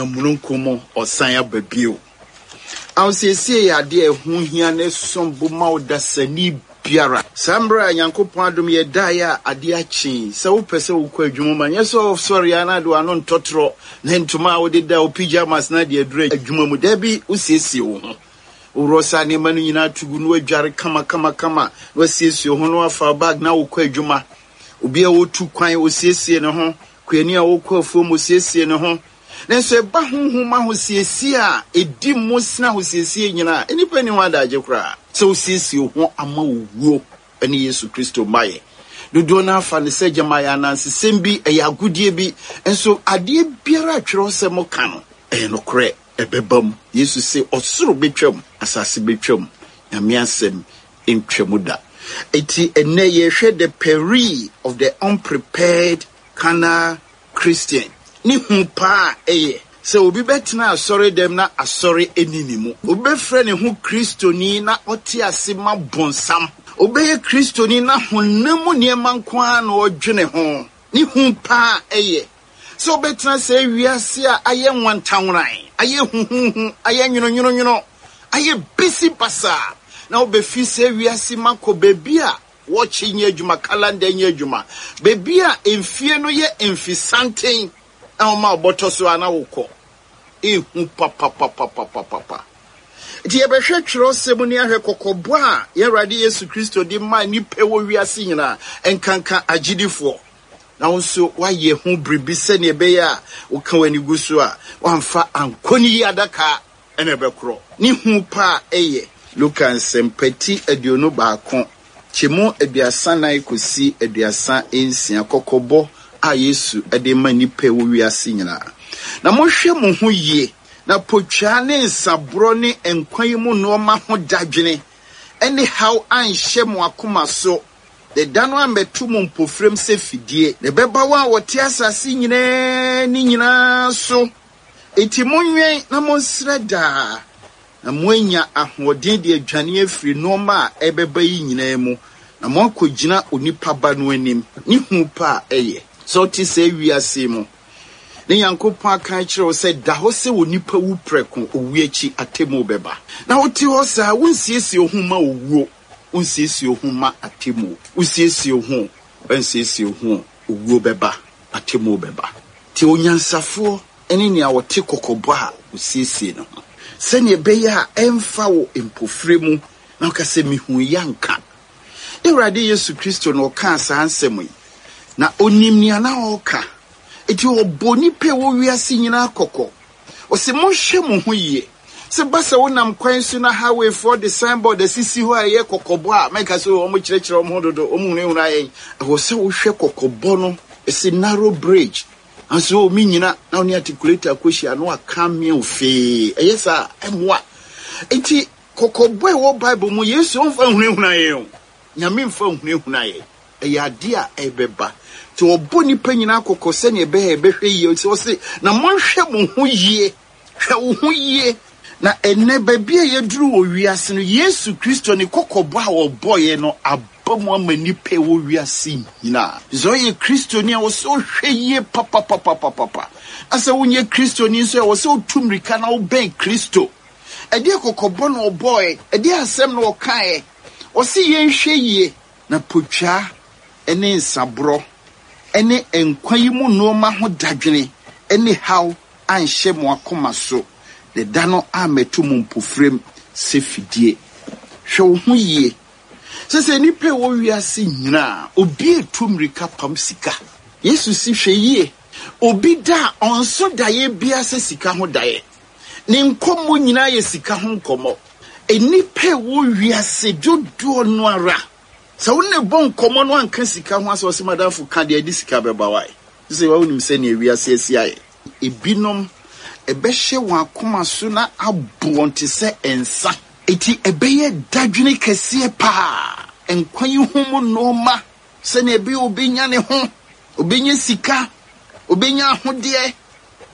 Ɔnam mununkum mu ɔsan aba bio. Ahosiesie yɛ adeɛ a ɛho hia na ɛsom bo ma ɔdasani biara. Saa mmerɛ a Nyankopɔn adom yɛdaeɛ a adeɛ akye yi, sɛ wopɛ sɛ wokɔ adwuma mu a, nyɛ sɛ wosɔre ara na de w'ano ntɔtorɔ ne ntoma a wode da, wo pyjamas na de aduru adwuma mu. Dabi, wosiesie wo ho. Woworɔ saa nneɛma no nyinaa to gu na woadware kamakamakama na woasiesie wo ho na woafa wo bag na wokɔ adwuma. Obi a ɔretu kwan, ɔsiesie ne ho. Kuani a ɔrekɔ afuom, ɔsiesie ne ho. Nanso ɛba honhom ahosiesie a ɛdi mu sene ahosiesie nyinaa a, nnipa nni ho adagye koraa. Sɛ wosiesie wo ho ama owuo ne Yesu Kristo mmaeɛ. Dodoɔ no ara fa no sɛ gyama ɛyɛ anansesɛm bi, ɛyɛ agodie bi. Nso adeɛ biara a twerɛsɛm ka no, ɛyɛ nokorɛ, ɛbɛba mu. Yesu se, Ɔsoro bɛtwam, asase bɛtwam, Nyame asɛm ntwa mu da. Enti ɛnnɛ yɛrehwɛ the peril of the unprepared carnal Christian. Ne hu paa a ɛyɛ sɛ obi bɛtena asɔredɛm na asɔre nni ne mu. Obi bɛfrɛ ne ho Kristoni na ɔte ase ma bonsam. Obi bɛyɛ Kristoni na honam mu nneɛma nko ara na ɔdwene ho. Ne hu paa a ɛyɛ sɛ wobɛtena saa wiase a ayɛ nwantanworan, ayɛ huhuuhu, ayɛ nwononwononwono, ayɛ bisi basaa, na wobɛfi saa wiase mu akɔ baabi a wɔɔkye nyɛ adwuma, kalanda nyɛ adwuma, baabi a mfie no yɛ mfesanten na wɔma wo bɔtɔ so a na wokɔ. Ehu papapapapapapa. Nti yɛbɛhwɛ twerɛsɛm ni ahwɛ kɔkɔbɔ a yɛn Awurade Yesu Kristo de maa nnipa wɔ wiase nyinaa, nkanka agyidifoɔ. Na wo nso woayɛ ho biribi sɛnea ɛbɛyɛ a woka w'ani gu so a, woamfa ankɔ ne yi adaka na ɛbɛkorɔ. Ne hu pa a ɛyɛ. Luka Nsɛmpa ti 21, kyɛmu 34 kɔsi 36, kɔkɔbɔ a Yesu de rema nnipa a ɛwɔ wiase nyinaa. Na monhwɛ mo ho yie, na potwaa ne nsaborɔ ne nkwa yi mu nnoɔma ho dadwene ne haw anhyɛ mo akoma so, Na da no ammɛto mo mpofirem sɛ fidie. Na ɛbɛba wɔn a wɔte asase nyinaa ani nyinaa so. Enti monwɛn na monsrɛ daa, na moanya ahoɔden de adwane afiri nnoɔma a ɛrebɛba yi nyinaa mu, na moakɔgyina Onipa Ba no anim. Ne hu pa a ɛyɛ sɛ wote saa wiase yi mu, na Nyankopɔn aka akyerɛ wo sɛ da hɔ sɛ onipa wu prɛko, owu akyi atemmuo bɛba. Na wote hɔ saa, wonsiesie wo ho mma owuo. Wonsiesie wo ho mma atemmuo. Wosiesie wo ho o, woansiesie wo ho o, owuo bɛba, atemmuo bɛba. Nti onyansafoɔ ne nea ɔte kɔkɔbɔ a ɔsiesie ne ho, sɛdeɛ ɛbɛyɛ a ɛmfa wo mpofire mu na woka sɛ, Mehuiɛ anka. Yɛn Awurade Yesu Kristo na ɔkaa saa nsɛm yi, na ɔnim nea na ɔreka. Enti ɔbɔɔ nnipa a ɛwɔ wiase nyinaa kɔkɔ. Ɔse, Monhwɛ mo ho yie. Sɛ ɛba sɛ wonam kwan so na highwayfoɔ de signboard asisi hɔ a ɛyɛ kɔkɔbɔ a, mɛnka sɛ oh, wɔkyerɛkyerɛ wɔn ho dodo, wɔhunahuna yɛn. Ɛwɔ sɛ wohwɛ kɔkɔbɔ no, ɛse narrow bridge, nanso oh, mennyina, na wo ne articulator akɔhyia na waka amea wo fee. Ɛyɛ saa a, ɛmmoa. Enti kɔkɔbɔ a ɛwɔ Bible mu, Yesu ɔmfa nhunahuna yɛn o. Nyame mfa nhunahuna yɛn. Ɛyɛ adeɛ a ɛrebɛba. Nti ɔbɔ nnipa nyinaa kɔkɔ sɛdeɛ ɛbɛyɛ a yɛbɛhwɛ yie. Ɔse, na monhwɛ mo ho yie. Hwɛ wo ho yie. Na ɛnnɛ, baabi a yɛaduru wɔ wiase no, Yesu Kristo ne kɔkɔbɔ a ɔbɔeɛ no aba mu ama nnipa a ɛwɔ wiase nyinaa. Sɛ woyɛ Kristoni a, ɛwɔ sɛ wohwɛ yie papapapapapa. Na sɛ wonyɛ Kristoni nso a, ɛwɔ sɛ wotu mmirika na wobɛn Kristo. Ɛdeɛn kɔkɔbɔ na ɔbɔeɛ? Ɛdeɛn asɛm na ɔkaeɛ? Ɔse yɛnhwɛ yie. Na potwaa ne nsaborɔ ne nkwa yi mu nnoɔma ho dadwene ne haw anhyɛ mo akoma so, na da no ammɛto mo mpofirem sɛ fidie. Hwɛ wo ho yie. Sɛsɛ nnipa a ɛwɔ wiase nyinaa, obi retu mmirika pam sika. Yesu se hwɛ yie, obi da a ɔnso daeɛ biara sɛ sika ho daeɛ. Ne nkɔmmɔ nyinaa yɛ sika ho nkɔmmɔ. Nnipa a ɛwɔ wiase dodoɔ no ara, sɛ wo ne no bɔ nkɔmmɔ na wanka sika ho asɛm a, ɔse madamfo ka deɛ ɛde sika bɛba wae. Sɛ wonim sɛnea wiase asi ayɛ. Ebinom, ɛbɛhyɛ wɔn akoma so na abo wɔn te sɛ nsa. Enti ɛbɛyɛ dadwene kɛseɛ paa. Nkwa yi ho mu nnoɔma, sɛnea ɛbɛyɛ ɔbɛnya ne ho, ɔbɛnya sika, ɔbɛnya ahodeɛ,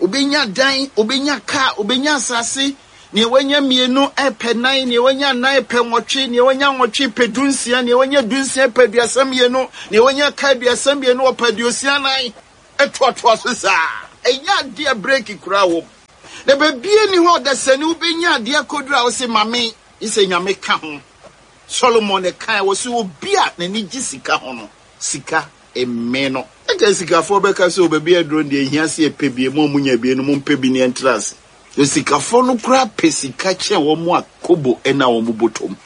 ɔbɛnya dan, ɔbɛnya kaa, ɔbɛnya asase, nea wanya mmienu repɛ nnan, nea wanya nnan repɛ nwɔtwe, nea wanya nwɔtwe repɛ dunsia, nea wanya dunsia repɛ 32, nea wanya ka 32 ɔpɛ 64, ɛtoatoa so saa. Ɛnyɛ adeɛ a breki koraa wɔ mu. Na baabiara nni hɔ a ɔdasani wobɛnya adeɛ akɔduru a wose ma me, gye sɛ Nyame ka ho. Solomon na ɛkae, ɔse obi a n'ani gye sika ho no, sika mmee no. Anka asikafoɔ bɛka sɛ, O baabi a aduro no deɛ ɛhia sɛ yɛpɛ bi, mo a monya bi no mompɛ bi na yɛntra ase. Asikafoɔ no koraa pɛ sika kyɛn wɔn a kobo nna wɔn bɔtɔ mu.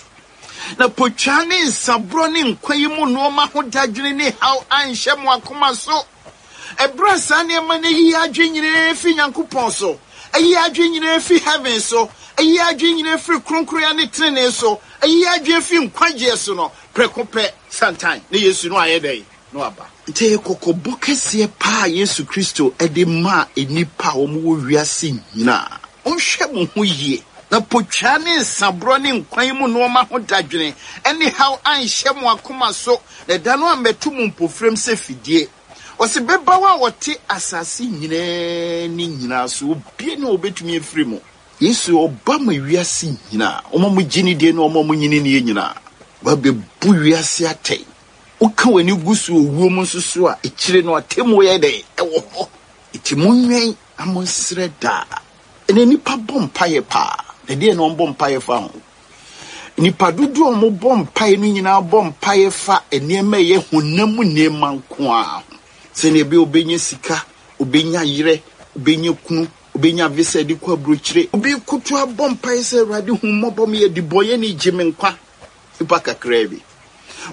Na potwaa ne nsaborɔ ne nkwa yi mu nnoɔma ho dadwene ne haw anhyɛ mo akoma so. Ɛberɛ a saa nneɛma no ayi yɛn adwene nyinaa afi Nyankopɔn so, ayi yɛn adwene nyinaa afi heaven so, ayi yɛn adwene nyinaa afiri kronkronyɛ ne tenenee so, ayi yɛn adwene afi nkwagyeɛ so no, prɛko pɛ, santan, na Yesu no ayɛ dɛn? Na waba. Nti ɛyɛ kɔkɔbɔ kɛseɛ paa a Yesu Kristo de maa nnipa a wɔwɔ wiase nyinaa. Monhwɛ mo ho yie, na potwaa ne nsaborɔ ne nkwa yi mu nnoɔma ho dadwene ne haw anhyɛ mo akoma so, na ɛda no ammɛto mo mpofirem sɛ fidie. Ɔse, Bɛbaw a wɔte asase nyinaa ani nyinaa so, obia nni hɔ a obetumi afiri mu. Yesu ɔba ma wiase nyinaa, wɔn a wɔgye no die ne wɔn a wɔnnye no nnie nyinaa. Wabebu wiase atɛn. Woka w'ani gu so owuo mu nso so a, akyire no atemmuo yɛ dɛn? Ɛwɔ hɔ. Enti monwɛn na monsrɛ daa. Ɛnɛ nnipa bɔ mpaeɛ paa, na ɛdeɛn na wɔbɔ mpaeɛ fa ho? Nnipa dodoɔ a wɔbɔ mpaeɛ no nyinaa bɔ mpaeɛ fa nneɛma a ɛyɛ honam mu nneɛma nko ara ho. Sɛdeɛ ɛbɛyɛ ɔbɛnya sika, ɔbɛnya yerɛ, ɔbɛnya kunu, ɔbɛnya visa de kɔ aburokyire. Obi koto abɔ mpaeɛ sɛ, Awurade hu mmɔbɔ, meyɛ debɔneyɛni, gye me nkwa. Nnipa kakraa bi.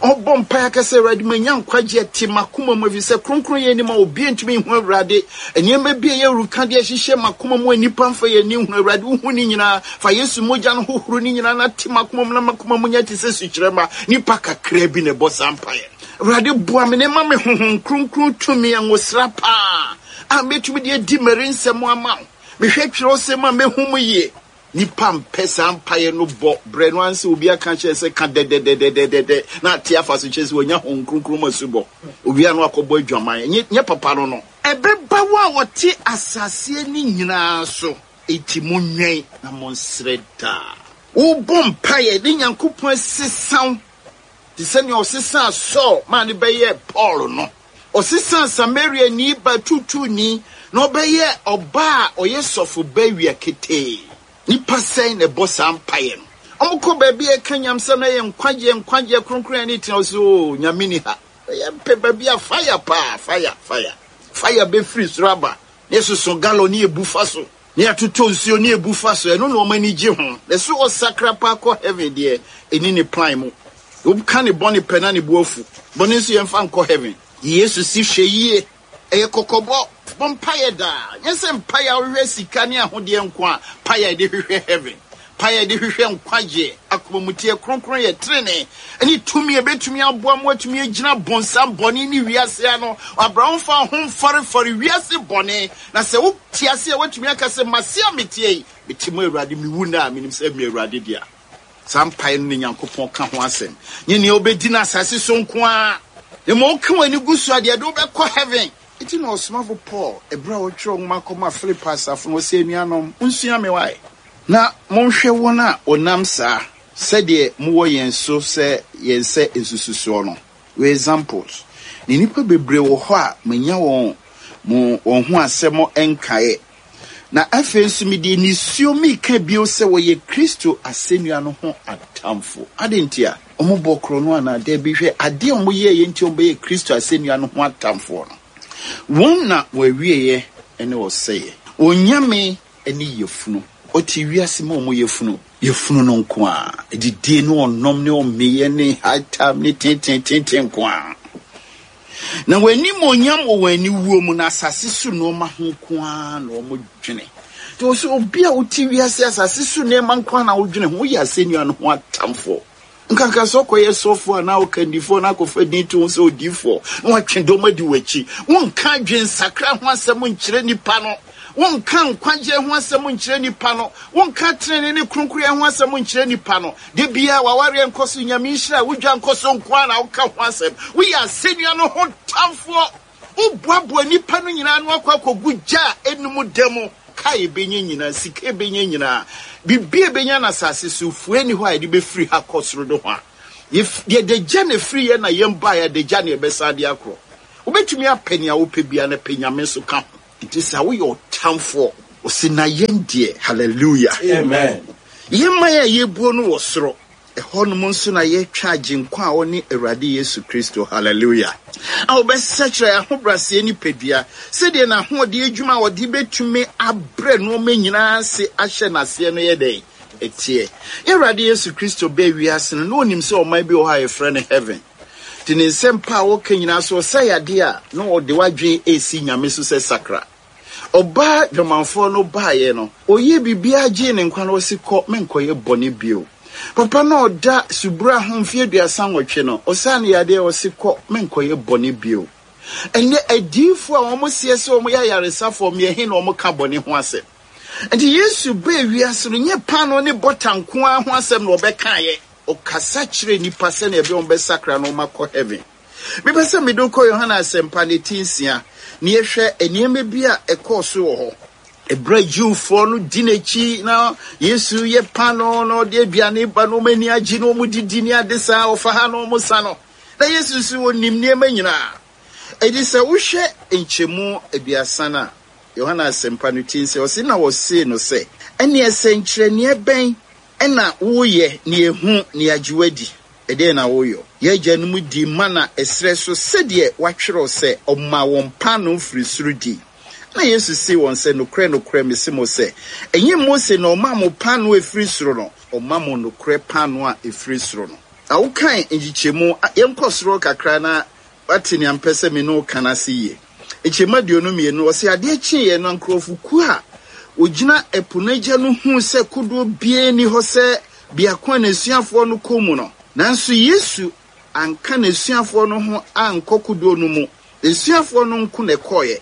Ɔbɔ mpae aka sɛ, Awurade, manya nkwagye ɛte m'akoma mu, efisɛ kronkronyɛ nni mu a obiara ntumi nhu Awurade. Nneɛma bi a ɛyɛ awurukade ahyehyɛ m'akoma mu a nnipa mfa yɛn ani nhunu. Awurade, wuhu ne nyinaa. Fa Yesu mogya no hohoro ne nyinaa na te m'akoma mu na m'akoma mu nyɛ te sɛ sukyerɛmma. Nnipa kakraa bi na ɛbɔ saa mpae no. Awurade, boa me na ma me Honhom Kronkron tumi, ngosra paa a metumi de adi m'arinsɛm ama wo. Mehwɛ kyerɛwsɛm a mehu mu yie. Nnipa mpɛ saa mpaeɛ no bɔ berɛ no ara sɛ obi aka akyerɛ sɛ ka dɛdɛdɛdɛdɛdɛ na ate afa so kyerɛ sɛ wanya Honhom Kronkron mu asubɔ. Owie a na wakɔbɔ adwaman. Ɛnyɛ nyɛ papa no no. Ɛbɛba wɔn a wɔte asase ani nyinaa so, enti monwɛn na monsrɛ daa. Wobɔ mpaeɛ ne Nyankopɔn asesa wo te sɛ nea ɔsesaa Saul maa no bɛyɛɛ Paul no. Ɔsesaa Samariani ba tuutuuni na ɔbɛyɛɛ ɔbaa a ɔyɛ sɔfo ba awia ketee. Nnipa sɛn na ɛbɔ saa mpaeɛ no? Wɔkɔ baabi a ɛka nyamsɛm na ɛyɛ nkwagyeɛ, nkwagyeɛ, kronkronyɛ ne tena, wɔse oo, Nyame nni ha. Yɛmpɛ baabi a fire paa, fire, fire, fire bɛfiri soro aba na yɛsoso gallon ne yɛbu fa so. Ne yɛatotɔ nsuo ne yɛbu fa so, ɛno na wɔn ani gye ho. Na ɛso ɔsakra paa kɔ heaven deɛ, ɛnni ne plan mu. Woka ne bɔne pɛ na ne bo afu. Bɔne nso yɛmfa nkɔ heaven. Yesu se hwɛ yie, ɛyɛ kɔkɔbɔ. Bɔ mpaeɛ daa. Nyɛ sɛ mpaeɛ a wohwehwɛ sika ne ahodeɛ nko a, mpaeɛ a yɛde hwehwɛ heaven. Mpaeɛ a yɛde hwehwɛ nkwagyeɛ, akomamuteɛ, kronkronyɛ, trenee, ne tumi a ɛbɛtumi aboa ma woatumi agyina bonsam bɔne ne wiase ano. Abraham mfa wo ho mfɔrefɔre wiase bɔne. Na sɛ wote ase a, woatumi aka sɛ, Mase a meteɛ yi, mete mu Awurade, mewu nnɛ a, menim sɛ meyɛ Awurade dea. Saa mpae no na Nyankopɔn ka ho asɛm. Nyɛ nea wobedi no asase so nko ara, na mmom woka w'ani gu so a, deɛ ɛde wo bɛkɔ heaven. Enti na ɔsomafo Paul, bere a ɔretwerɛ nwoma kɔma Filipi asafo no, ɔse, Anuanom, monsua me wae, na monhwɛ wɔn a wɔnam saa, sɛdeɛ mowɔ yɛn so sɛ yɛn sɛ nsususoɔ no. Wei examples. Na nnipa bebree wɔ hɔ a manya wɔn mo wɔn ho asɛm nkaeɛ. Na afei nso mede nisuo mereka bio sɛ wɔyɛ Kristo asɛnnua no ho atamfo. Adɛn ntia? Wɔbɔ korɔno anaa? Dabi, hwɛ adeɛ a wɔyɛeɛ nti a wɔbɛyɛɛ Kristo asɛnnua no ho atamfoɔ no. Wɔn na wɔn awieeɛ ne ɔsɛeɛ. Wɔn nyame ne yafunu. Wɔte wiase ma wɔn yafunu. Yafunu no nko ara. Adidie ne ɔnom ne ɔmeeɛ ne high time ne teeteeteetee nko ara. Na wɔn animuonyam wɔ wɔn aniwuo mu, na asase so nneɛma ho nko ara na wɔdwene. Nti wɔ sɛ obi a wote wiase asase so nneɛma nko ara na wodwene ho, woyɛ asɛnnua no ho atamfoɔ. Nkanka sɛ ɔkɔyɛ sɔfoɔ anaa ɔkandifoɔ na akɔfa din to ho sɛ odiyifoɔ na watwe dɔm adi w'akyi. Wonka adwensakra ho asɛm nkyerɛ nnipa no. Wonka nkwagyeɛ ho asɛm nkyerɛ nnipa no. Wonka tenenee ne kronkronyɛ ho asɛm nkyerɛ nnipa no. Da biara w'awareɛ nkɔ so, Nyame nhyira, wo dwa nkɔ so nko ara na woka ho asɛm. Woyɛ asɛnnua no ho tamfoɔ. Woboaboa nnipa no nyinaa ano akɔ akɔgu gya a ɛnum da mu. Ka a yɛbɛnya nyinaa, sika a yɛbɛnya nyinaa, biribi a yɛbɛnya no asase so, fua nni hɔ a yɛde bɛfiri ha kɔ soro nohoa. Yɛde gya na ɛfiri yɛn na yɛn baeɛ, adagya na yɛbɛsan de akorɔ. Wobɛtumi apɛ nea wopɛ biara na pɛ Nyame nso ka ho. Nti sɛ woyɛ ɔtamfoɔ. Ɔse na yɛn deɛ, hallelujah. Amen. Yɛn man a yɛbuo no wɔ soro. Ɛhɔnom nso na yɛtwa Agyenkwa a ɔne Awurade Yesu Kristo, hallelujah, a ɔbɛsakyera yɛn ahobrɛaseɛ nipadua sɛdeɛ n'ahoɔden adwuma a ɔde bɛtumi abrɛ nnoɔma nyinaa ase ahyɛ n'aseɛ no yɛ dɛn? Ɛteɛ. Yɛn Awurade Yesu Kristo baa wiase no, na ɔnim sɛ ɔman bi wɔ hɔ a yɛfrɛ no heaven. Nti ne nsɛmpa a ɔka nyinaa so ɔsa yadeɛ a, na ɔde w'adwene resi Nyame so sɛ sakra. Ɔbaa dwamanfoɔ no baeɛ no, ɔyɛɛ biribiara gyee ne nkwa no, ɔse kɔ, menkɔyɛ bɔne bio. Papa no a ɔda subura ho mfeɛ 38 no, ɔsaa no yadeɛ, ɔse kɔ, menkɔyɛ bɔne bio. Ɛnnɛ adiyifoɔ a wɔn seɛ sɛ wɔn yɛ ayaresafoɔ, mmeɛ he na wɔn ka bɔne ho asɛm? Nti Yesu baa wiase no, nyɛ paanoo ne bɔta nko ara ho asɛm na ɔbɛkaeɛ. Ɔkasa kyerɛɛ nnipa sɛnea ɛbɛyɛ wɔbɛsakra na wɔakɔ heaven. Mepɛ sɛ mede wo kɔ Yohane Asɛmpa no ti nsia na yɛhwɛ nneɛma bi a ɛkɔɔ so wɔ hɔ. Ɛberɛ a Jewfoɔ no di n'akyi na Yesu yɛ paanoo na ɔde aduane ba na wɔn ani agye na wɔn didi ne ade saa, ɔfa ha na wɔn sa no. Na Yesu nso ɔnim nneɛma nyinaa. Enti sɛ wohwɛ nkyɛmu 30 no a, Yohane Asɛmpa no ti nsia, ɔse na wɔsee no sɛ, Ɛnneɛ sɛnkyerɛnneɛ bɛn na woreyɛ na yɛahu na yɛagye wo adi? Ɛdeɛn na woreyɔ? Yɛn agyanom dii mana ɛserɛ so sɛdeɛ wɔatwerɛ sɛ, 'Ɔmaa wɔn paanoo firii soro dii. Ɛnna Yesu see wɔn sɛ, Nokorɛ, nokorɛ, mese mo sɛ, ɛnyɛ Mose na ɔmaa mo paanoo a ɛfiri soro no, ɔma mo nokorɛ paanoo a ɛfiri soro no. Na wokan nkyekyɛmu a, yɛnkɔ soro kakra na woate nea mepɛ sɛ me ne wo ka no ase yie. Nkyɛmu 22, ɔse, Adeɛ kyeeɛ no, nkurɔfokuo a wɔgyina ɛpo no agya no huu sɛ kodoɔ biara nni hɔ sɛ biako a n'asuafoɔ no kɔ mu no. Nanso Yesu anka n'asuafoɔ no ho ankɔ kodoɔ no mu, n'asuafoɔ no nko na ɛkɔeɛ.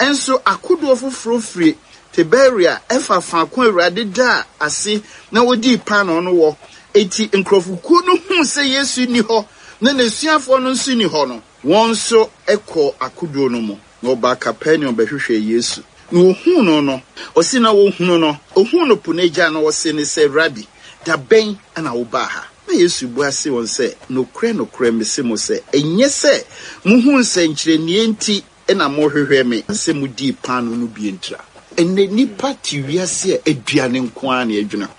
Nso akodoɔ foforɔ firi Tiberia ɛfa faako a Awurade daa ase na wɔdii paanoo no wɔ. Enti nkurɔfokuo no huu sɛ Yesu nni hɔ na n'asuafoɔ no nso nni hɔ no, Wɔn nso kɔɔ akodoɔ no mu, na wɔbaa Kapernaum bɛhwehwɛɛ Yesu. Na wɔhuu no no, ɔse na wɔhunu no, ɔhuu no po no agya no, ɔsee no sɛ, Rabi, da bɛn na wobaa ha? Na Yesu bua see wɔn sɛ, Nokorɛ, nokorɛ, mese mo sɛ, ɛnyɛ sɛ mohuu nsɛnkyerɛnneɛ nti na mohwehwɛ me, na sɛ modii paanoo no bi ntira. Ɛnnɛ nnipa te wiase a aduane nko ara na yɛdwene ho.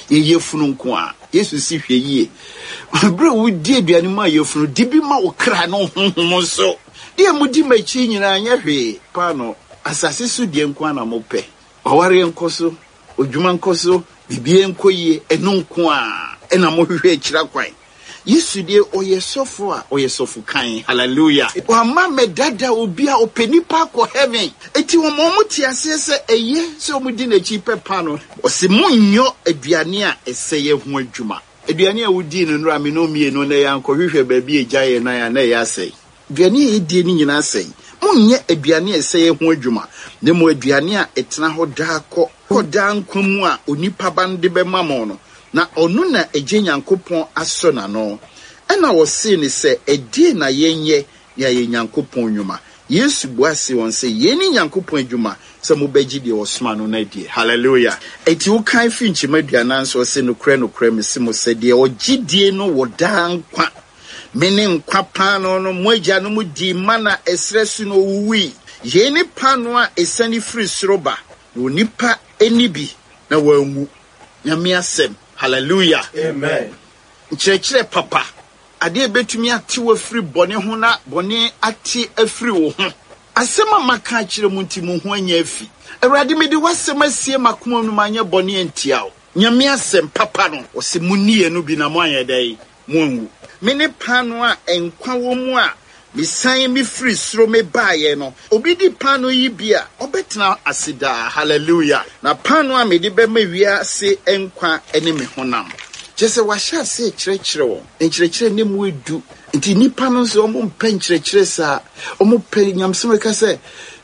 Yɛn yafunu nko ara. Yesu se hwɛ yie. Bere a wodi aduane ma yafunu, di bi ma wo kra ne wo honhom nso. Deɛ modi m'akyi nyinaa nyɛ hwee. Paanoo, asase so deɛ nko ara na mopɛ. W'awareɛ nkɔ so, w'adwuma nkɔ so, biribiara nkɔ yie, ɛno nko ara na mohwehwɛ akyira kwan. Yesu deɛ ɔyɛ sɔfo a ɔyɛ sɔfo kann hallelujah. Wamma mɛdada obi a ɔpɛ nipa akɔ heaven enti ɔma ɔmo te aseɛ sɛ ɛyɛ sɛ ɔmo di n'akyi pɛ paano. Ɔse monyɔ aduane a ɛsɛeɛ ho adwuma. Aduane a wodii no nnora me ne wo mmienu nnɛ yɛankɔhwehwɛ baabi a egya yɛn nan a na ɛyɛ asɛe. Aduane a yɛdie no nyinaa sɛe. Monnyɛ aduane a ɛsɛeɛ ho adwuma, na mmom aduane a ɛtena hɔ daa kɔ kɔ daa nkwa mu a Onipa Ba no de bɛma mo no, na ɔno na Agya Nyankopɔn asɔ n'ano. Ɛnna wɔsee no sɛ, Ɛdeɛn na yɛnyɛ na yɛayɛ Nyankopɔn nnwuma? Yesu bua see wɔn sɛ, Yei ne Nyankopɔn adwuma, sɛ mobɛgye deɛ ɔsomaa no no adie. Hallelujah! Enti wokan firi nkyɛmu 40 so, ɔse, Nokorɛ, nokorɛ, mese mo sɛ, deɛ ɔgye die no wɔ daa nkwa. Mene nkwa paanoo no, mo agyanom dii mana ɛserɛ so na wɔwuwui. Yei ne paanoo a ɛsiane firi soro ba, na onipa nni bi na wanwu. Nyame asɛm. Hallelujah. Amen. Nkyerɛkyerɛ papa, adeɛ a ɛbɛtumi ate wo afiri bɔne ho na bɔne ate afiri wo ho. Asɛm a maka akyerɛ mo nti mo ho anya afi. Awurade, mede w'asɛm asie m'akoma mu na manyɛ bɔne antia wo. Nyame asɛm papa no, ɔse monni ɛno bi na moanyɛ dɛn? Moanwu. Mene paanoo a nkwa wɔ mu a mesiane mefirii soro mebaeɛ no. Obi di paanoo yi bi a, ɔbɛtena ase daa. Hallelujah! Na paanoo a mede bɛma wiase nkwa ne me honam. Kyerɛ sɛ, wahyɛ aseɛ rekyerɛkyerɛ wɔn. Nkyerɛkyerɛ no mu edu. Nti nnipa no nso, wɔmpɛ nkyerɛkyerɛ saa. Wɔpɛ nyamesɛm a ɛka sɛ,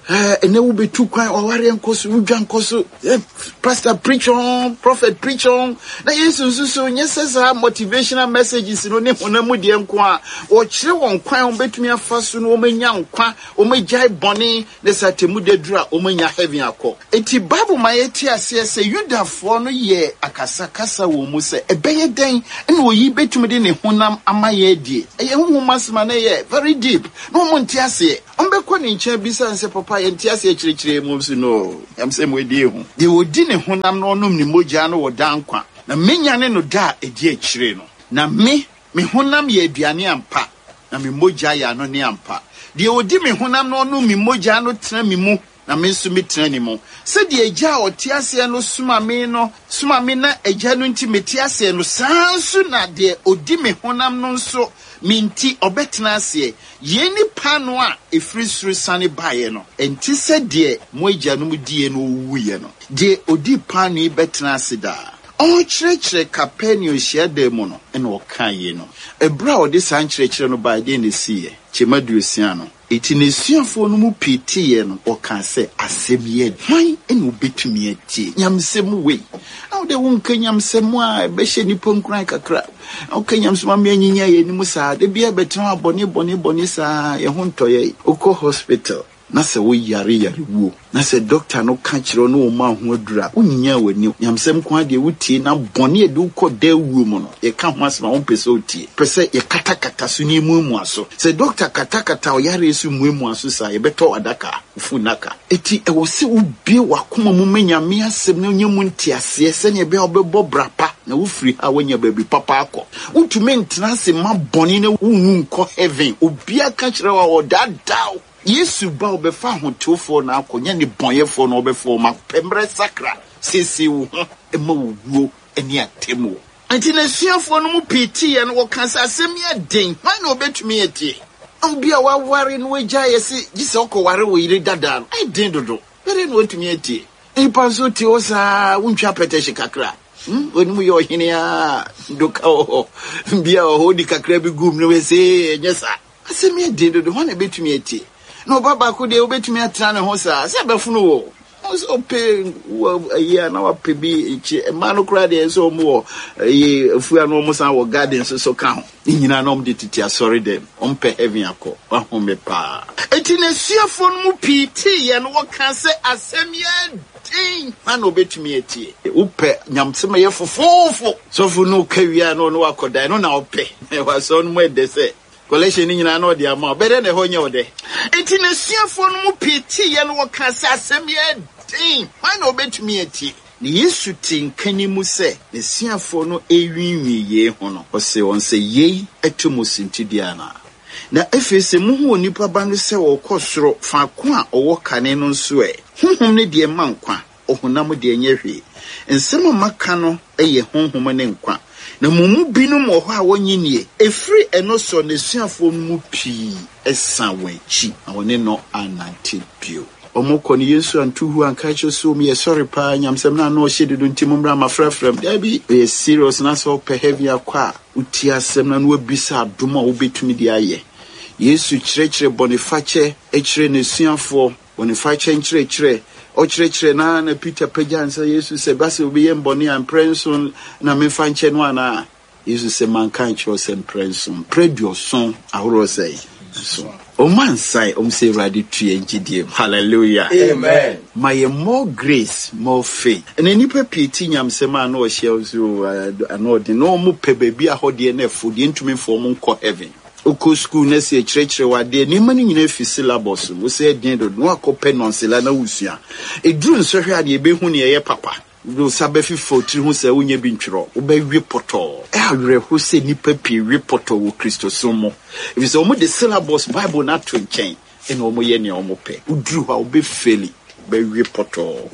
Ɛɛ, ɛnɛ wobɛtu kwan, w'awareɛ nkɔ so, wo dwa nkɔ so. Eh, pastor preach on, prophet preach on. Na Yesu nso so, nyɛ sɛ saa motivational messages no ne honam mu deɛ nko a, wɔkyerɛ wɔn kwan a wɔbɛtumi afa so na wɔanya nkwa, wɔagyae bɔne, na sɛ atemmuda duru a, wɔanya heaven akɔ. Enti Bible ma yɛte aseɛ sɛ Yudafoɔ no yɛɛ akasakasa wɔn mu sɛ, ɛbɛyɛ dɛn na oyi bɛtumi de ne honam ama yɛn adie? Ɛyɛ honhom asɛm a na ɛyɛ very deep, na wɔn nte aseɛ. Wɔbɛkɔ ne nkyɛn abisa no sɛ, Papa, Papa yɛnte aseɛ kyerɛkyerɛ mu nso no. Nyamsɛm wei deɛ ɛhu. Deɛ ɔdi ne honam na ɔnom ne mogya no wɔ daa nkwa, na mɛnyane no da a ɛdi akyire no. Na me, me honam yɛ aduane ampa, na me mogya yɛ anonne ampa. Deɛ ɔdi me honam na ɔnom me mogya no tena me mu, na me nso metena ne mu. Sɛdeɛ Agya a ɔte aseɛ no soma me no soma me na Agya no nti mete aseɛ no, saa ara nso na deɛ ɔdi me honam no nso me nti ɔbɛtena aseɛ. Yei ne paanoo a ɛfiri soro siane baeɛ no, ɛnte sɛ deɛ mo agyanom diiɛ na wɔwuwuiɛ no. Deɛ ɔdi paanoo yi bɛtena ase daa. Ɔrekyerɛkyerɛ Kapernaum hyiadan mu no na ɔkaa yeinom. Ɛberɛ a ɔde saa nkyerɛkyerɛ no baeɛ, deɛn na ɛsiiɛ? Kyɛm aduosia no. Enti n'asuafoɔ no mu pii teeɛ no, wɔkaa sɛ, Asɛm yi yɛ hwan na ɔbɛtumi atie nyamesɛm wei? Na wo deɛ wonka nyamesɛm a ɛbɛhyɛ nnipa nkuran kakra, na woka nyamesɛm ama yɛanyinyia yɛn anim saa, da biara bɛtena hɔ a bɔne bɔne bɔne saa, yɛn ho ntɔ yɛn. Wokɔ hospital na sɛ woyare yarewuo na sɛ dɔkta no ka kyerɛ wo na ɔma wo ho aduru a, wonyinya w'ani. Nyamesɛm nko ara deɛ wotie na bɔne a ɛde wo kɔ daa wuo mu no, yɛka ho asɛm a wompɛ sɛ wotie. Wopɛ sɛ yɛkatakata so na yɛmuamua so. Sɛ dɔkta katakata ɔyareɛ so muamua so saa a, yɛbɛtɔ wo adaka, wo funnaka. Enti ɛwɔ sɛ wobue w'akoma mu ma Nyame asɛm na wonya mu nteaseɛ sɛdeɛ ɛbɛyɛ a wobɛbɔ bra pa na wofiri ha a woanya baabi papa akɔ. Wontumi ntena ase mma bɔne na wonwu nkɔ heaven. Obiara ka kyerɛ wo a, ɔdaadaa wo. Yesu ba ɔbɛfa ahotewfoɔ na akɔ, nyɛ nnebɔneyɛfoɔ na ɔbɛfa wɔn akɔ. Pɛ mmerɛ sakra, siesie wo ho ma owuo ne atemmuo. Enti n'asuafoɔ no mu pii teeɛ no, wɔkaa sɛ, Asɛm yi yɛ den, hwan na ɔbɛtumi atie? Obi a waware na wagyae yɛ se gye sɛ ɔkɔware wo yere dada no, ɛyɛ den dodo. Bɛdɛn na watumi atie? Nnipa nso te hɔ saa, wontwa apɛtɛhye kakra. Hmm, w'anim yɛ ɔhene a, doka wɔ hɔ, bia wɔ hɔ, wodi kakra bi gum no, wɛsɛ ɛnyɛ saa. Asɛm yɛ den dodo, hwan na ebetumi atie? Na ɔba baako deɛ, wobetumi atena ne ho saa, sɛ ɛbɛfono wo. Wo sɛ ɔpɛ wo ayi a na wapɛ bi akyi. Mmaa no koraa deɛ sɛ wɔn wɔ ayi afuo a na wɔn san wɔ garden nso so ka ho. Ne nyinaa na wɔn de tete asɔre dɛm. Wɔn pɛ heaven akɔ. Wahome paa. Enti n'asuafoɔ no mu pii teeɛ no, wɔkaa sɛ, Asɛm yɛ den, hwan na obetumi atie? Wopɛ nyamesɛm a ɛyɛ fofoofo. Sɔfo no ka wie a na ɔne wo akɔda, ɛno na wopɛ. Wɔ asɔre no mu ɛdɛ sɛ Collection no nyinaa na ɔde ama wo. Bɛdɛn na ɛhɔ nyɛ wo dɛ? Enti n'asuafoɔ no mu pii teeɛ no, wɔkaa sɛ, Asɛm yi yɛ den, hwan na ɔbɛtumi atie? Na Yesu tee nka ne mu sɛ n'asuafoɔ no rewiinwii yei ho no, ɔsee wɔn sɛ, Yei to mo suntidua anaa? Na afei sɛ mohu Onipa Ba no sɛ ɔrekɔ soro faako a ɔwɔ kane no nso ɛ? Honhom no deɛ ɛma nkwa, ɔhonam deɛ ɛnyɛ hwee. Nsɛm a maka no yɛ honhom ne nkwa. Na mo mu binom wɔ hɔ a wɔnnye nnie. Ɛfiri ɛno so n'asuafoɔ no mu pii san wɔn akyi, na wɔne no annante bio. Wɔkɔ no, Yesu anto hu anka akyerɛ sɛ wɔn yɛ sɔre paa, nyamsɛm no ano ɔhye dodo nti mommra mafrafra mu. Daabi, ɔyɛ serious na sɛ wopɛ heaven akɔ a, wotie asɛm no na woabisa adom a wobɛtumi de ayɛ. Yesu kyerɛkyerɛ bɔnefakyɛ kyerɛ n'asuafoɔ. Bɔnefakyɛ nkyerɛkyerɛ, Ɔkyerɛkyerɛ no ara na Peter pagyaa nsa Yesu sɛ, Ba sɛ obi yɛ me bɔne a, mprɛ nson na memfa nkyɛ no anaa? Yesu sɛ, Manka ankyerɛ wo sɛ mprɛ nson, mprɛ aduɔson ahoroɔ sɛn? Nson. Wɔn ansae, wɔn sɛ, Awurade tu yɛn gyidie mu. Hallelujah. Amen. Ma yɛn more grace, more faith. Ɛnɛ nnipa pii te nyamesɛm a na ɔhyɛ wɔn sɛ, oh, ano ɔden, na wɔn pɛ baabi a hɔ deɛ na ɛfo deɛ ntumi mfa wɔn nkɔ heaven. Wokɔ sukuu na sɛ yɛkyerɛkyerɛ wo adeɛ, nneɛma no nyinaa fi syllabus mu. Wosɛ ɛden dodo na woakɔpɛ nɔnsela na wosua. Ɛduru nsɔhwɛ a deɛ yɛbɛhu nea ɛyɛ papa. Wode wo nsa bɛfefa wo tiri ho sɛ wonyɛ bi ntwerɛ. Wobɛwe pɔtɔɔ. Ɛyɛ awerɛho sɛ nnipa pii we pɔtɔɔ wɔ Kristosom mu, ɛfiri sɛ wɔde syllabus Bible no ato nkyɛn na wɔyɛ nea wɔpɛ. Woduru hɔ a wobɛfeli, wobɛwe pɔtɔɔ.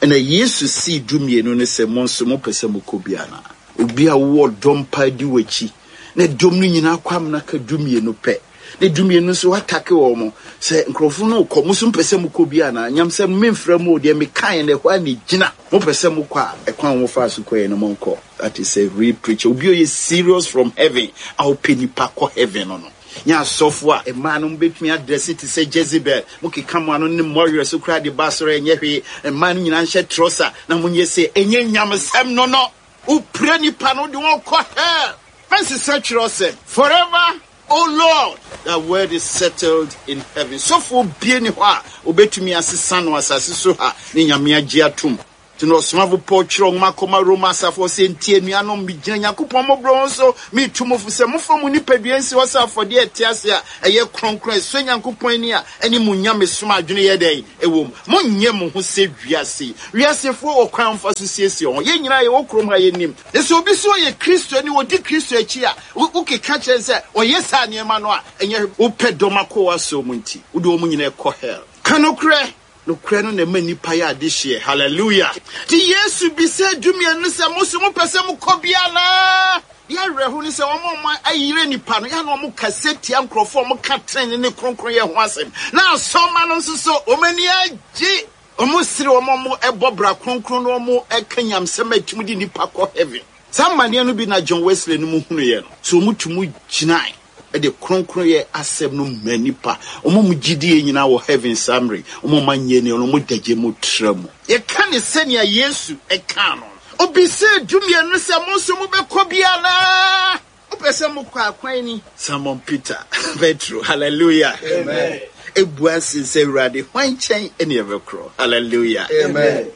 Ɛnna Yesu see dummienu no sɛ, Mo nso mopɛ sɛ mokɔ bi anaa? Obi a wowɔ ɔdɔm paa di w'akyi, na dɔm no nyinaa kɔ amena ka dumienu pɛ, na dumienu nso atake wɔn sɛ nkurɔfo no rekɔ, mo nso mopɛ sɛ mokɔ bi anaa? Nyamsɛm no memfrɛ mo o, deɛ mekaeɛ no ɛhɔ ara na ɛgyina. Mopɛ sɛ mokɔ a, ɛkwan a wɔfaa so kɔeɛ no monkɔ. That is a real preacher. Obi a ɔyɛ serious from heaven a ɔpɛ nipa kɔ heaven no no. Nyɛ asɔfo a mmaa no mobɛtumi adrɛse te sɛ Jezebel, mokeka mo ano ne mmɔwerɛ so koraa de ba asɔre a ɛnyɛ hwee, mmaa no nyinaa nhyɛ trɔsa na monyɛ sei. Ɛnyɛ nyamesɛm no no. Wopira nipa no, wode wɔn kɔ hell. Mɛnsesa twerɛsɛm. Forever O Lord, thy word is settled in heaven. Sɔfoɔ bie ni hɔ a obɛtumi asesa no asase so ha ne Nyame agye atom. Nti na ɔsomafo Paul kyerɛw nwoma kɔma Roma asafo, ɔse, Enti anuanom, migyina Nyankopɔn mmɔborɔhunu so meretu mo fo sɛ momfa mo nipadua nsi hɔ sɛ afɔdeɛ a ɛte ase a ɛyɛ kronkron a ɛsɔ Nyankopɔn ani a ɛne mo nyamesom adwene yɛ dɛn? Ɛwom. Monnyɛ mo ho sɛ wiase yi. Wiasefoɔ wɔ kwan a wɔfa so siesie wɔn ho. Yɛn nyinaa yɛwɔ kurom ha, yɛnim. Na sɛ obi se ɔyɛ Kristoni, ɔdi Kristo akyi a, wokeka kyerɛ no sɛ ɔyɛ saa nneɛma no a, ɛnyɛ hwee. Wopɛ dɔm akɔ w'asɔre mu nti, wode wɔn nyinaa kɔ hell. Ka nokorɛ! Nokorɛ no na ɛma nnipa yɛ adehyeɛ. Hallelujah! Nti Yesu bisaa dumienu no sɛ, Mo nso mopɛ sɛ mokɔ bi anaa? Deɛ awerɛho ne sɛ, wɔn a wɔayera nnipa no, yɛ a na wɔkasa tia nkurɔfoɔ a wɔka tenenee ne kronkronyɛ ho asɛm. Na asɔremma no nso so, wɔn ani agye. Wɔsere wɔn a wɔbɔ bra kronkron na wɔka nyamesɛm a ɛtumi de nnipa kɔ heaven. Saa amanneɛ no bi na John Wesley no mu hunuiɛ no. So wɔtumi gyinae de kronkronyɛ asɛm no ma nnipa. Wɔn a wɔgye die nyinaa wɔ heaven saa mmerɛ yi. Wɔn a wɔanyɛ anni no, wɔda gya mu tra mu. Yɛka no sɛnea Yesu kaa no. Obisaa dumienu no sɛ, Mo nso mobɛkɔ bi anaa? Mopɛ sɛ mokɔ a, kwan ni. Simon Peter, Petro, hallelujah, Amen. Ebua se sɛ, Awurade, hwan nkyɛn ne yɛbɛkorɔ? Hallelujah. Amen.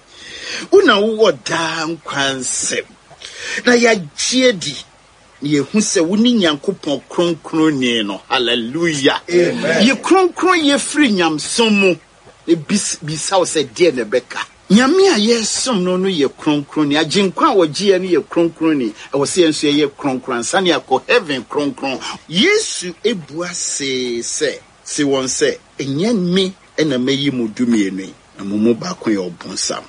Wo na wowɔ daa nkwa nsɛm, na yɛagye adi na yɛahu sɛ wone Nyankopɔn Kronkronni no. Hallelujah. Amen. Yi kronkronyɛ firi nyamesom mu na bisa wo sɛ deɛ na ɛbɛka. Nyame a yɛresom no no yɛ kronkronni. Agyenkwa a ɔgye yɛn no yɛ kronkronni. Ɛwɔ sɛ yɛn nso yɛyɛ kronkron ansa na yɛakɔ heaven kronkron. Yesu bua see sɛ, se wɔn sɛ, Ɛnyɛ me na mayi mo dumienu yi, na mo mu baako yɛ ɔbonsam.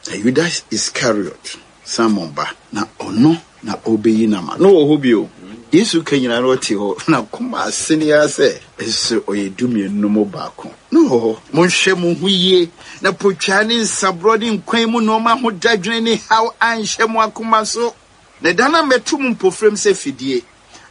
Na Yuda Iskariot, Simon ba, na ɔno na ɔrebɛyi no ama. Na ɔwɔ hɔ bio. Yesu ka nyinaa na ɔte hɔ. N'akoma asene ara sɛ nso ɔyɛ dumienu no mu baako. Na ɔwɔ hɔ. Monhwɛ mo ho yie na potwaa ne nsaborɔ ne nkwan mu nnoɔma ho dadwene ne haw anhyɛ mo akoma so. Na da no ammɛto mo mpofirem sɛ fidie.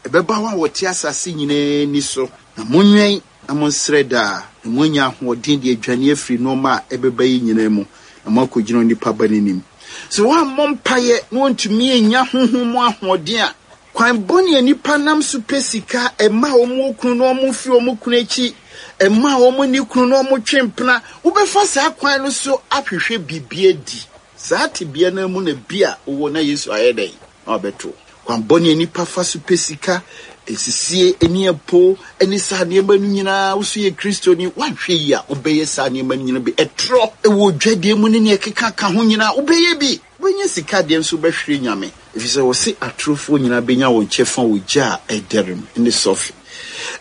Ɛbɛba wɔn a wɔte asase nyinaa ani so. Na monwɛn na monsrɛ daa, na moanya ahoɔden de adwane afiri nnoɔma a ɛbɛba yi nyinaa mu, na moakɔgyina Onipa Ba no anim. Sɛ wɔammɔ mpaeɛ na wɔntumi annya honhom mu ahoɔden a, kwan bɔne a nnipa nam so pɛ sika, ɛma wɔn kunu na wɔfiri wɔn kunu akyi, ɛma wɔn ne kunu na wɔtwe mpena, wobɛfa saa kwan no so ahwehwɛ biribi adi. Saa tebea no ara mu na bi a wowɔ na Yesu ayɛ dɛn? Na wabɛto wo. Kwan bɔne a nnipa fa so pɛ sika, nsisie, aniɛpo, ne saa nneɛma no nyinaa, wo nso yɛ Kristoni, woanhwɛ yie a, wobɛyɛ saa nneɛma no nyinaa bi. Ɛtorɔ wɔ dwadie mu ne nea ɛkeka ka ho nyinaa, wobɛyɛ bi. Wobɛnya sika deɛ nso wobɛhwere Nyame, ɛfiri sɛ wɔse atorofoɔ nyinaa bɛnya wɔn kyɛfa wɔ gya a ɛdɛre mu ne sɔfe.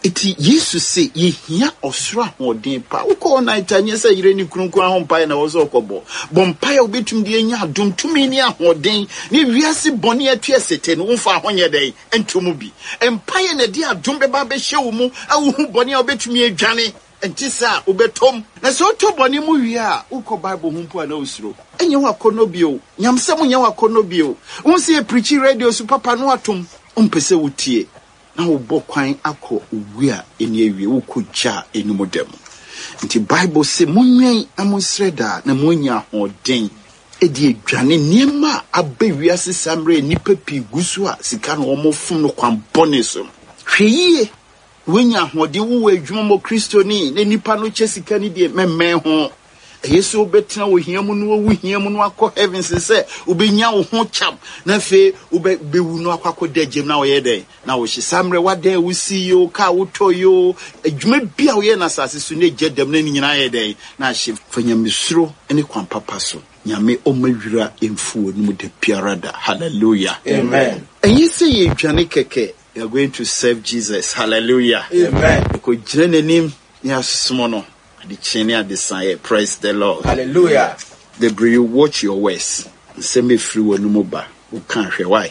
Enti Yesu se yɛhia ɔsoro ahoɔden paa. Wokɔ all night a, nyɛ sɛ yere ne kunu nko ara ho mpaeɛ na ɛwɔ sɛ ɔkɔbɔ. Bɔ mpaeɛ a wobɛtumi de anya adom, tumi ne ahoɔden ne wiase bɔne a ɛto ɛsete no, womfa ho nyɛ dɛn? Nto mu bi. Mpaeɛ na ɛde adom bɛba abɛhyɛ wo mu a wohu bɔne a wobɛtumi adwane. Ɛnte saa a, wobɛtɔ mu. Na sɛ wotɔ bɔne mu wie a, wokɔ Bible ho mpo a na wosuro. Ɛnyɛ wo akɔnnɔ bio. Nyamesɛm nyɛ wo akɔnnɔ bio. Wohu sɛ yɛprikyi radio so papa no atom. Wompɛ sɛ wotie. Na wobɔ kwan akɔ owu a enni awiei, wokɔ gya a enni mu da mu. Enti Bible se, Monwɛn na monsrɛ daa, na moanya ahoɔden de adwane nneɛma a aba wiase saa mmerɛ a nnipa pii gu so a sika na wɔfom no kwan bɔne so no. Hwɛ yie na woanya ahoɔden, wowɔ adwuma mu Kristoni na nnipa no kyɛ sika no die, mɛmmɛn ho. Eye sɛ wobɛtena ohia mu na wawu hia mu na wakɔ heaven sen sɛ wobɛnya wo ho kyam na afei wobɛwu na wakɔ akɔda gyam na wɔyɛ dɛn na wohye. Saa mmerɛ wadan a wosi yi o, kaa wotɔ yi o, adwuma bi a woyɛ no asase so na egya dam na ne nyinaa ayɛ dɛn na ahye. Fa nyamesuro ne kwan papa so. Nyame ɔmma wira mfu w'anom da biara da. Hallelujah. Amen. Ɛnyɛ sɛ yɛredwane kɛkɛ, we are going to serve Jesus. Hallelujah. Amen. Yɛkɔgyina n'anim na yɛasom no. Adekyee ne adesaeɛ, praise the Lord. Hallelujah. Bebree you watch your words. Nsɛm efiri w'anum ba. Woka hwɛ why?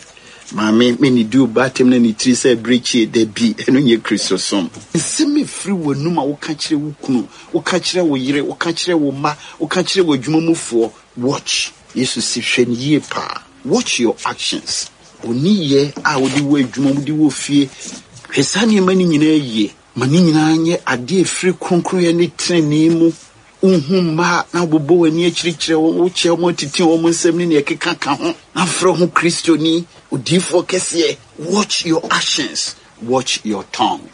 Maame, me ne di wo ba atem na ne tiri sɛ abirekyie. Dabi, ɛno nyɛ Kristosom. Nsɛm efiri w'anum a woka kyerɛ wo kunu, woka kyerɛ wo yere, woka kyerɛ wo mma, woka kyerɛ w'adwuma mufoɔ, watch. Yesu se hwɛ no yie paa. Watch your actions. Wo nneyɛɛ a wode wɔ adwuma mu, wode wɔ fie, hwɛ saa nneɛma no nyinaa yie. Ma ne nyinaa nyɛ adeɛ a ɛfiri kronkronyɛ ne tenenee mu. Wohu mma a, na wobobɔ w'ani akyirikyerɛ wɔn, wokyea wɔn atete wɔn nsam ne nea ɛkeka ka ho, na frɛ wo ho Kristoni, odiyifoɔ kɛseɛ. Watch your actions, watch your tongue.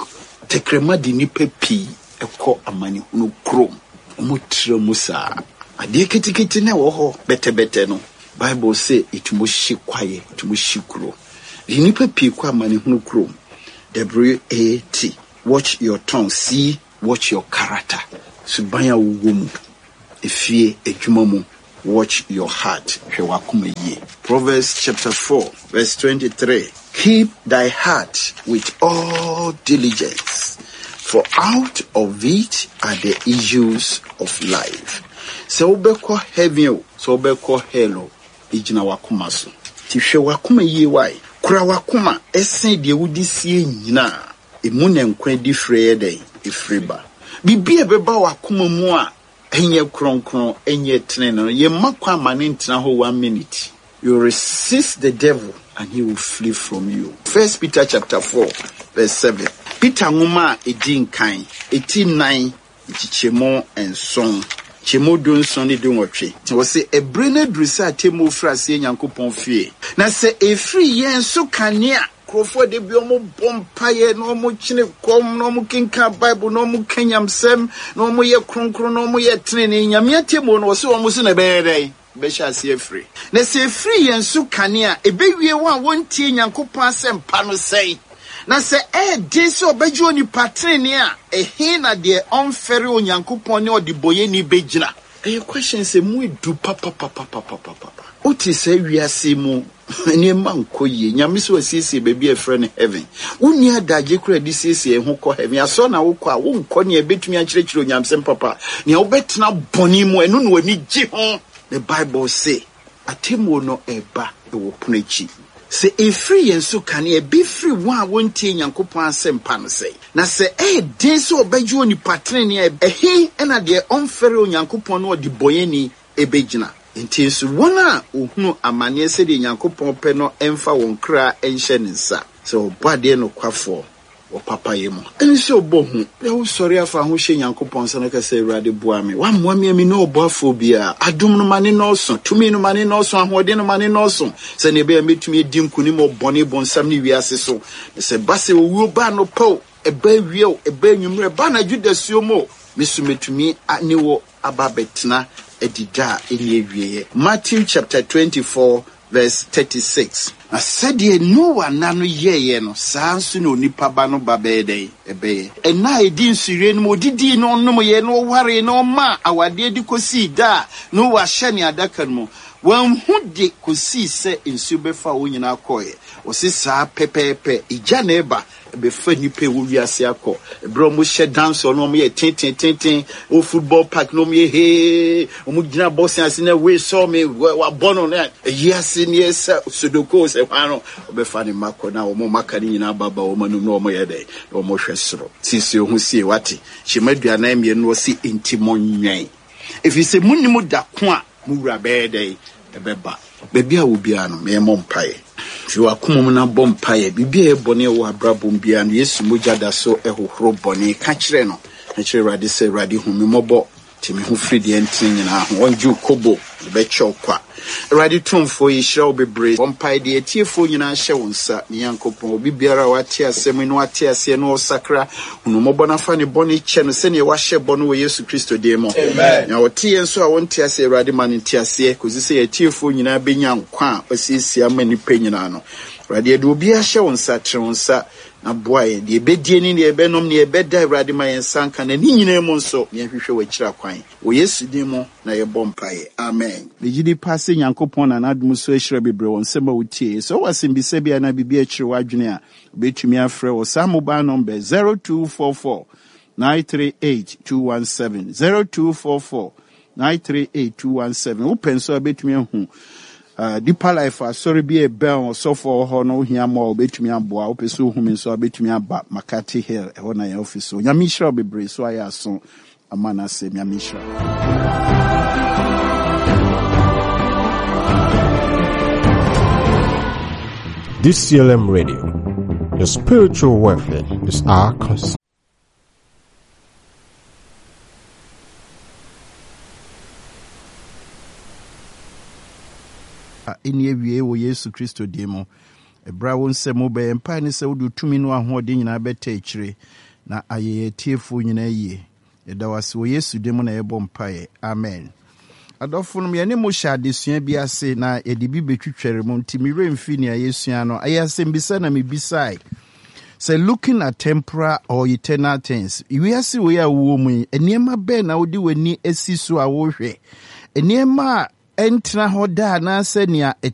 Tɛkrɛma de nnipa pii kɔ amanehunu kurom. Wɔtra mu saa. Adeɛ ketekete na ɛwɔ hɔ bɛtɛbɛtɛ no, Bible se ɛtumi hye kwaeɛ, ɛtumi hye kuro. De nnipa pii kɔ amanehunu kurom. WAT, Watch your tongue, C, Watch your character, suban a wowɔ mu, efie, adwuma mu, Watch your heart, hwɛ w'akoma yie. Proverbs chapter 4 verse 23, Keep thy heart with all diligence, for out of it are the issues of life. Sɛ wobɛkɔ heaven o, sɛ wobɛkɔ hell o, egyina w'akoma so. Nti hwɛ w'akoma yie wae. Kora w'akoma sen deɛ wode sie nyinaa. Emu na nkwa adifire yɛ dɛn? Efiri ba. Biribi a ɛbɛba w'akoma mu a ɛnyɛ kronkron, ɛnyɛ tenenee no, yɛmma kwan ma no ntena hɔ one minute. You resist the devil and he will flee from you. First Peter chapter 4 verse 7. Peter nwoma a edi nkan, eti nnan, nkyekyɛmu nson, nkyɛmu dunson ne dunwɔtwe. Wɔse, ɛbere no aduru sɛ atemmuo firi aseɛ Nyankopɔn fie. Na sɛ ɛfiri yɛn so kane a, nkurɔfoɔ da bi wɔn bɔ mpaeɛ na wɔn kyene kɔm na wɔn kenkan Bible na wɔn ka nyamsɛm na wɔn yɛ kronkron na wɔn yɛ tenenee. Nyame atemmuo no wɔse wɔn so na ɛbɛyɛ dɛn? Ɛbɛhyɛ aseɛ afiri. Na sɛ ɛfiri yɛn so kane a, ɛbɛwie wɔn a wɔntie Nyankopɔn asɛmpa no sɛn? Na sɛ ɛyɛ den sɛ ɔbɛgye onipa tenenee a, ɛhe na deɛ ɔmfɛre Onyankopɔn ne ɔdebɔyɛni bɛgyina? Ɛyɛ questions a ɛmu edu papapapapapapa. Wote saa wiase yi mu nneɛma nkɔ yie. Nyame sɛ wasiesie baabi a yɛfrɛ no heaven. Wonni adagye koraa de siesie ho kɔ heaven. Asɔre na wokɔ a, wonkɔ nea ɛbɛtumi akyerɛkyerɛ onyamesɛm papa. Nea wobɛtena bɔne mu, ɛno na w'ani gye ho. Na Bible se, atemmuo no reba wɔ pono akyi. Sɛ ɛfiri yɛn so kane a, ɛbɛfiri wɔn a wɔntie Nyankopɔn asɛmpa no sɛn? Na sɛ ɛyɛ den sɛ wɔbɛgye onipa tenenee a, ɛhe na deɛ ɔmfɛre Onyankopɔn ne ɔdebɔneyɛni bɛgyina? Enti nso wɔn a wɔhunu amaneɛ sɛdeɛ Nyankopɔn pɛ no mfa wɔn kra nhyɛ ne nsa, sɛ Ɔbɔadeɛ nokwafoɔ wɔ papayɛ mu. Ɛne sɛ ɔbɔ hu. Na wosɔre afa ho hyɛ Nyankopɔn nsa na ka sɛ, Awurade boa me. Woammoa me a menni ɔboafoɔ biara. Adom no ma ne nnɔɔso, tumi no ma ne nnɔɔso, ahoɔden no ma ne nnɔɔso, sɛdeɛ ɛbɛyɛ a mɛtumi adi nkonim wɔ bɔne, bonsam ne wiase so. Na sɛ ɛba sɛ owuo ba anɔpa o, ɛba awia o, ɛba anwummerɛ, ɛba anadwo dasuo mu o, me nso mɛtumi ne wo aba abɛtena adi da a ɛnni awieɛ. Matthew chapter 24 verse 36. Na sɛdeɛ Noa nna no yɛeɛ no, saa ara nso na Onipa Ba no ba bɛyɛ dɛn? Ɛbɛyɛ. Nna a ɛdi nsuyire no mu, ɔdidii na ɔnomeeɛ na ɔwaree na ɔmaa awadeɛ de kɔsii da a Noa hyɛnee adaka no mu. Wanhu de kɔsii sɛ nsuo bɛfaa wɔn nyinaa kɔeɛ. Ɔse saa pɛpɛɛpɛ, egya na ɛba ɛbɛfa nnipa ɛwɔ wiase akɔ. Ɛberɛ a wɔhyɛ dancehall na wɔyɛ tentenatenten wɔ football park na wɔyɛ hee, wɔgyina boxing ase na wei sɔɔ me, wabɔ no na ɛyi ase ne ɛsɛ sodoko sɛ hwan no, wɔbɛfa ne mma kɔ na wɔn maka no nyinaa baba wɔn anum na wɔyɛ dɛn na wɔhwɛ soro. Siesie wo ho sie, wate? Hyɛm 42 no ɔse enti monwɛn, ɛfiri sɛ monnim da ko a Mo wura bɛyɛ dɛn? Ɛbɛba. Baabi a wɔ biara no, yɛmmɔ mpaeɛ. Fi w'akoma mu na bɔ mpaeɛ. Biribi a ɛyɛ bɔne a ɛwɔ w'abrabɔ mu biara no, Yesu mogya da so hohoro bɔne. Ka kyerɛ no. Ka kyerɛ Awurade sɛ, Awurade, hu me mmɔbɔ. Te me ho firi deɛ ɛntene nyinaa ho. Ɔngye wo kobo, ɔde bɛkyɛ wo kwa. Awurade Tumfoɔ, yɛhyira wo bebree. Bɔ mpaeɛ de atiefoɔ nyinaa hyɛ wo nsa. Me Nyankopɔn, obi biara a wate asɛm yi na wate aseɛ na ɔresakra, Hunu mmɔbɔ na fa ne bɔne kyɛ no sɛdeɛ woahyɛ bɔ no wɔ Yesu Kristo din mu. Nea ɔte yɛn nso a ɔnte aseɛ, Awurade ma no nteaseɛ kɔsi sɛ yɛn atiefoɔ nyinaa bɛnya nkwa a wasiesie ama nnipa nyinaa no. Awurade, yɛde obiara hyɛ wo nsa, tene wo nsa na boa yɛn. Deɛ yɛbɛdie ne deɛ yɛbɛnom, deɛ yɛbɛda, Awurade ma yɛn nsa nka, na ne nyinaa mu nso, na yɛnhwehwɛ w'akyiri akwan. Wɔ Yesu din mu na yɛbɔ mpaeɛ. Amen. Megye di paa sɛ Nyankopɔn na n'adom so ahyira bebree wɔ nsɛm a wotieɛ. Sɛ wowɔ asɛmbisa bi anaa biribi a ɛkyere w'adwene a, Wobɛtumi afrɛ wɔ saa mobile number 0244 938 217, 0244 938 217. Wopɛ nso a wobɛtumi ahu uh, Deeper Life asɔre bi a ɛbɛn ɔsɔfo a ɔwɔ hɔ no wohia mmoa a wobɛtumi aboa. Wopɛ sɛ wohu me nso a wobɛtumi aba Makati Hill, ɛhɔ na yɛn office wɔ. Nyame nhyira wo bebree so ayɛ aso ama no asɛm. Nyame nhyira wo. DCLM Radio. Your spiritual welfare is our concern. Ɛnni awiei wɔ Yesu Kristo din mu. Ɛberɛ a wo nsɛm mu bɛyɛ mpae ne sɛ wode tumi ne w'ahoɔden nyinaa bɛta akyire na ayɛ yɛn atiefoɔ nyinaa yie. Yɛda wo ase wɔ Yesu din mu na yɛbɔ mpaeɛ. Amen. Adɔfonom, yɛne mo hyɛ adesua bi ase na yɛde bi bɛtwitware mu, nti me werɛ mfi nea yɛsua no. Ɛyɛ asɛmbisa na mebisae sɛ looking at temporal or eternal things. Wiase wei a wowɔ mu yi, nneɛma bɛn na wode w'ani asi so a wohwɛ? Nneɛma a ɛntena hɔ da anaasɛ nea